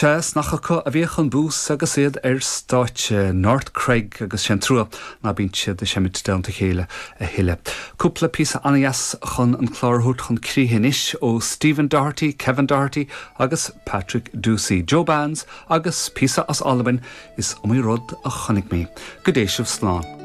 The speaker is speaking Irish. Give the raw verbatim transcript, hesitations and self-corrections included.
Sea is nach acu a bhíodh an bús agus iad ar stáitse North Craig agus sin trua ná bíonn siad ag seinm i dteannta a chéile a thuilleadh. Cúpla píosa an-deas chun an clár a thabhairt chun críche anois ó Stephen Doherty, Kevin Doherty agus Patrick Ducey, Joe Bands agus píosa as Albain is iomaí rud a chonaic mé. Go dté sibh slán.